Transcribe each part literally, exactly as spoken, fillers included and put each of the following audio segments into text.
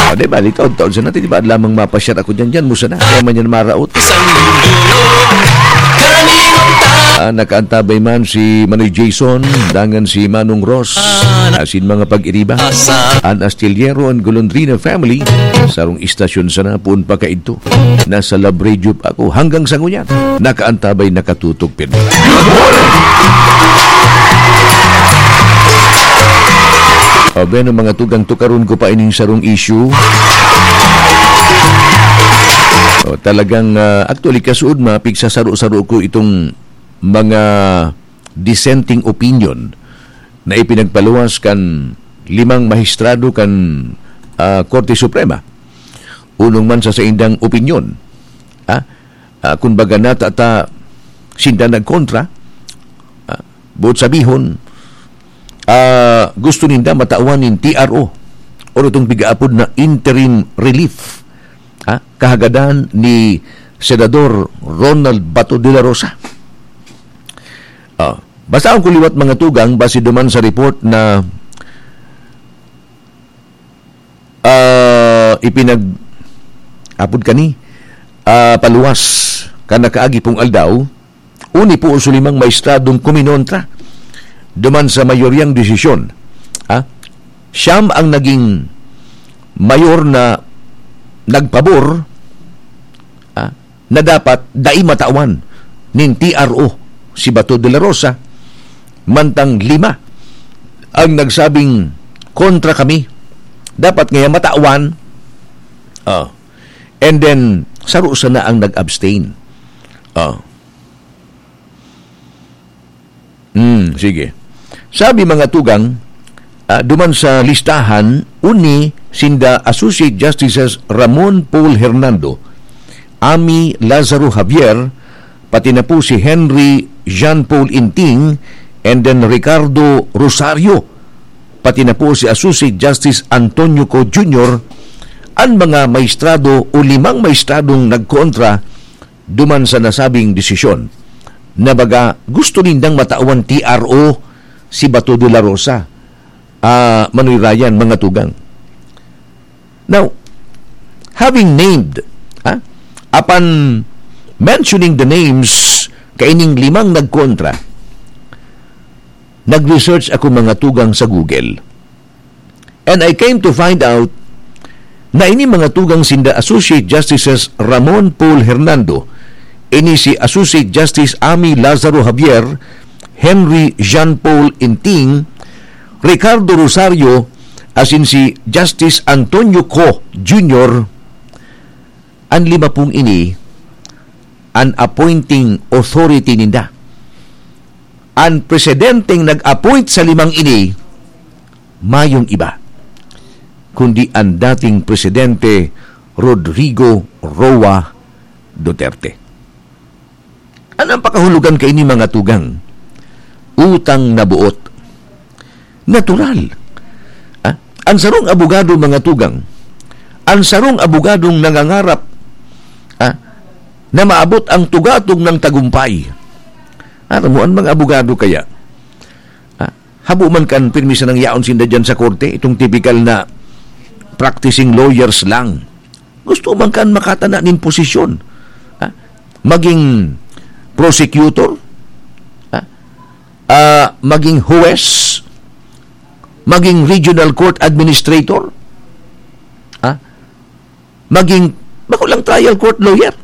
Ah, di ba? Ikaw, taon sa natin, di ba? Lamang mapashare ako dyan, dyan mo sana. Kaya man yan maraot. Ah, nakaantabay man si Manoy Jason, dangan si Manong Ross, asin mga pag-iriba. An Astillero and Golondrina family, sarong istasyon sana, poon pa kaidto. Nasa Love Radio pa ako hanggang sa ngunyan. Nakaantabay, nakatutok, pirmi. O, bueno, mga tugang, tukaron ko pa ining sarong issue. O, talagang, ah, actually, kasuod, mapigsasaro-saro ko itong mga dissenting opinion na ipinagpaluwas kan limang mahistrado kan, ah, Korte Suprema. Unong man sa saindang opinyon, ah, ah, kun baga, natata sinda nagkontra, ah, buot sabihon, ah, gusto ninda matawan nin T R O or itong pigaapod na interim relief, ah, kahagadan ni Senador Ronald Bato de la Rosa. Ah, basahon ko liwat, mga tugang, base duman sa report na, ah, ipinag-, apod kani, ah, paluwas kan nakaagi pong aldaw, uni po sa limang maestradong kuminontra duman sa mayoryang desisyon. Ah, siyam ang naging mayor na nagpabor, ah, na dapat dai matawan nin T R O si Bato de la Rosa, mantang lima ang nagsabing kontra kami. Dapat ngaya matawan. Ah. And then, saro sana ang nag-abstain. Ah. Hmm, sige. Sabi, mga tugang, ah, duman sa listahan, uni sinda Associate Justices Ramon Paul Hernando, Amy Lazaro Javier, pati na po si Henry Jean Paul Inting, and then Ricardo Rosario, pati na po si Associate Justice Antonio Co Junior, an mga maestrado o limang maestradong nagkontra duman sa nasabing desisyon, na baga gusto nindang matawan T R O si Bato de la Rosa, ah, Manoy Ryan, mga tugang. Now, having named, ah, apan mentioning the names kaining limang nagkontra, nag-research ako, mga tugang, sa Google. And I came to find out na ini mga tugang sinda Associate Justices Ramon Paul Hernando, ini si Associate Justice Amy Lazaro Javier, Henry Jean Paul Inting, Ricardo Rosario, asin si Justice Antonio Co Junior, an lima pong ini an appointing authority ninda. An presidenteng nag-appoint sa limang ini, mayong iba, kundi an dating presidente Rodrigo Roa Duterte. Ano ang pakahulugan kaini, mga tugang? Utang na buot. Natural. Ah, an sarong abogado, mga tugang, an sarong abogadong nangangarap, ah, na maabot ang tugatog ng tagumpay. Aram mo, an mga abogado kaya, ah, habo man kan pirmi sanang yaon sinda diyan sa korte, itong tipikal na practicing lawyers lang. Gusto man kan makatana nin posisyon. Ah, maging prosecutor, ah, ah, maging huwes, maging regional court administrator, ah, maging, bako lang, trial court lawyer.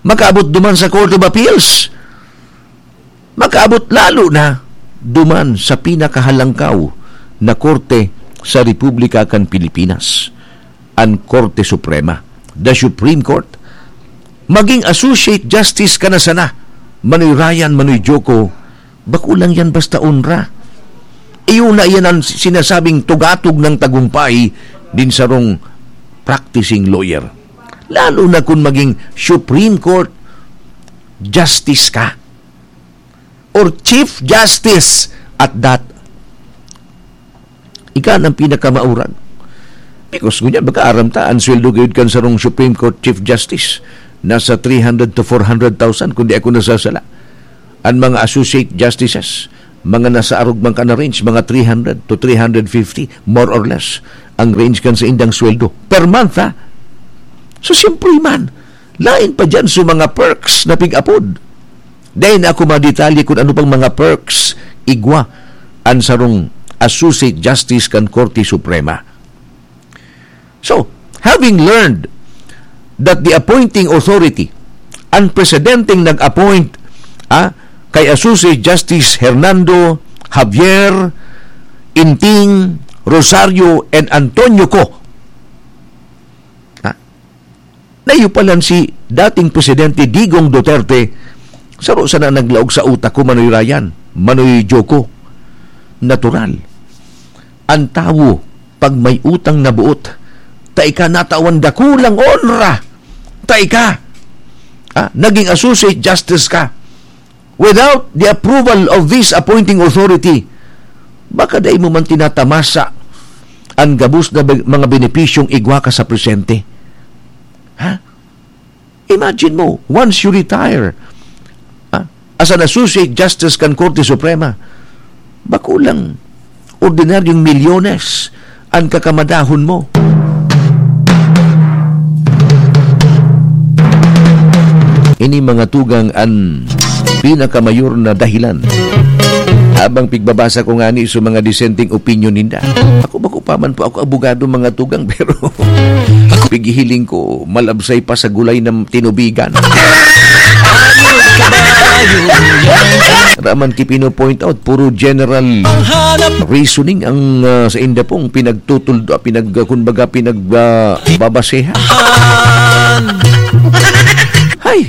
Makaabot duman sa Court of Appeals. Makaabot lalo na duman sa pinakahalangkaw na korte sa Republika kan Pilipinas, an Korte Suprema, the Supreme Court. Maging Associate Justice ka na sana, Manoy Ryan, Manoy Joko, bako lang yan basta onra. Iyo na yan ang sinasabing tugatog ng tagumpay din sarong practicing lawyer. Lalo na kung maging Supreme Court Justice ka. Or Chief Justice at that. Ika ang pinakamaurag. Because ngunyan, mag-aaram ta, ang sweldo gayud kan sarong Supreme Court Chief Justice, nasa three hundred to four hundred thousand, kung di ako nasasala. Ang mga Associate Justices, mga nasa arog man ka na range, mga three hundred to three hundred fifty, more or less, ang range kan saindang sweldo per month, ha? So, siyempre man, lain pa diyan sa mga perks na pig-apod. Dai na ako madetalye kung ano pang mga perks igwa an sarong Associate Justice kan Korte Suprema. So, having learned that the appointing authority, ang presidenteng nag-appoint, ah, kay Associate Justice Hernando, Javier, Inting, Rosario, and Antonio Co. Ha? Naiyo pa lang si dating Presidente Digong Duterte, saro sana naglaog sa utak ko, Manoy Ryan, Manoy Joko. Natural. Ang tawo, pag may utang na buot, ta ika natawan dakulang onra, ta ika, ah, naging Associate Justice ka. Without the approval of this appointing authority, baka dai mo man tinatamasa an gabos na be-, mga benepisyong igwa ka sa presente. Ha? Imagine mo, once you retire, ha, as an Associate Justice kan Korte Suprema, bako lang ordinaryong milyones an kakamadahon mo. Ini mga tugang an pinakamayor na dahilan. Habang pigbabasa ko ngani sa mga dissenting opinion ninda, ako bako pa man po ako abogado, mga tugang, pero pighihiling ko, malabsay pa sa gulay na tinubigan. Raman ki pino-point out, puro general reasoning ang, ah, sa inda pong pinagtutuldo, pinag-, kumbaga, pinag-, ah, babasehan. Hay!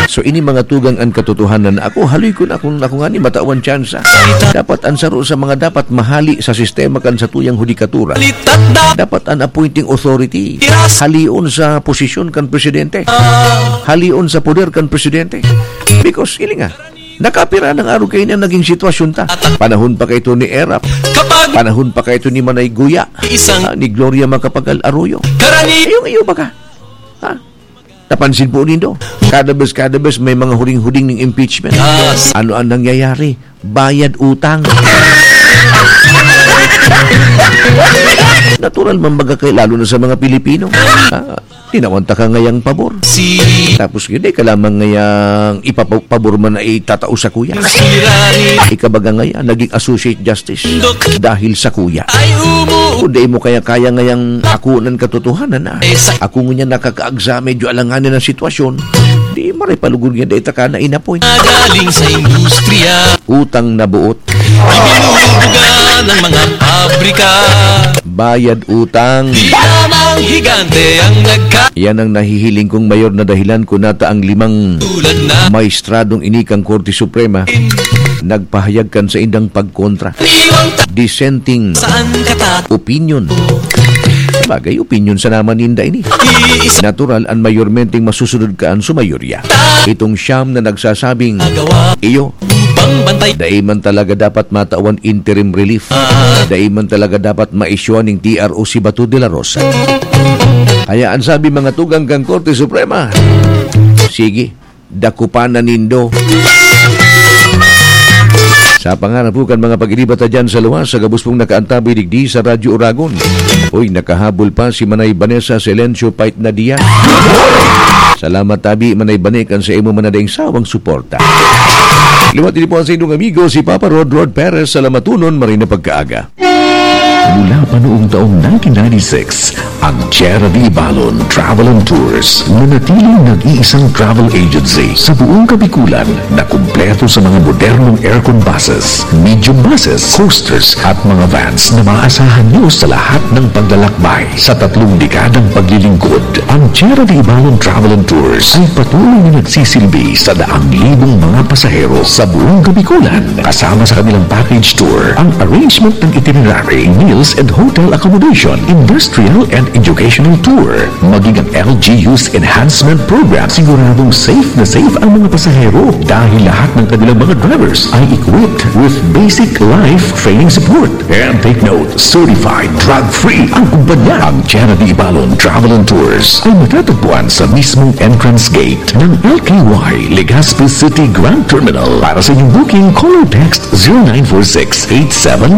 So, ini mga tugang an katotohanan na ako, haloy ko na kung ako ngani matawan tsansa. Dapat an saro sa mga dapat mahali sa sistema kan satuyang hudikatura, dapat an appointing authority halion sa posisyon kan presidente. Halion sa poder kan presidente. Because, ilinga, nakapira nang araw kaini an naging sitwasyon ta. Panahon pa kaito ni Erap. Panahon pa kaito ni Manay Guya. Ah, ni Gloria Macapagal Arroyo. Iyong iyo ba ka? Ha? Napansin po nindo? Kada bes, kada bes may mga huding-huding ning impeachment. Ano ang nangyayari? Bayad utang. Natural man baga kay, lalo na sa mga Pilipino. Ah, tinawan ta ka ngayang pabor. Tapos yun, di ka lamang ngayang ipapabor man na itatao sa kuya. Ikabaga ngaya, naging associate justice dahil sa kuya. Kung di mo kaya-kaya ngayang akunan katotohanan na, ako ngunyan nakakaagsa, medyo alanganin ang sitwasyon, di maray palugod nga dai ta ka na inapoy. Galing sa industriya. Utang na buot. Binubuga ng mga pabrika. Bayad utang. Di lamang higante ang nagka- Yan ang nahihiling kong mayor na dahilan kung nata ang limang tulad na maestradong ini kan Korte Suprema nagpahayag kan saindang pagkontra. Iwang ta- Dissenting saan ka ta- opinion. Bagay, opinion sa naman ninda ini. Iisa- Natural, ang mayormenteng masusunod ka an sumayorya. Itong siyam na nagsasabing, iyo, Bang bantay. Dai man talaga dapat matawan interim relief. Dai man talaga dapat maisyuan ning T R O si Bato de la Rosa. Kaya ang sabi mga tugang kan Korte Suprema, sige, dakupan na nindo. Sa pangarap po kan mga pag-iriba ta dyan sa luwas, sa gabos pong nakaantabay digdi sa Radyo Oragon. Uy, nakahabol pa si Manay Vanessa Silencio Pait na diyan. Salamat tabi, Manay Bane, kan sa imo man na daing sawang suporta. Liwat ini po ang sa inyong amigo, si Papa Rod, Rod Perez. Salamatunon, maray na pagkaaga. Mula pa noong taong nineteen ninety-six, ang Tierra de Ibalon Travel and Tours, nanatiling nag-iisang travel agency sa buong Kabikulan na kumpleto sa mga modernong aircon buses, medium buses, coasters at mga vans na maaasahan nyo sa lahat ng paglalakbay. Sa tatlong dekadang paglilingkod, ang Tierra de Ibalon Travel and Tours ay patuloy na nagsisilbi sa daang libong mga pasahero sa buong Kabikulan. Kasama sa kanilang package tour ang arrangement ng itinerary, meals and hotel accommodation, industrial and educational tour, maging ang L G U's enhancement program. Siguradong safe na safe ang mga pasahero dahil lahat ng kanilang mga drivers ay equipped with basic life training support. And take note, certified drug-free ang kumpanya. Ang Jenna D. Ibalon Travel and Tours ay matatagpuan sa mismong entrance gate ng L K Y Legazpi City Grand Terminal. Para sa inyong booking, call or text zero nine four six eight seven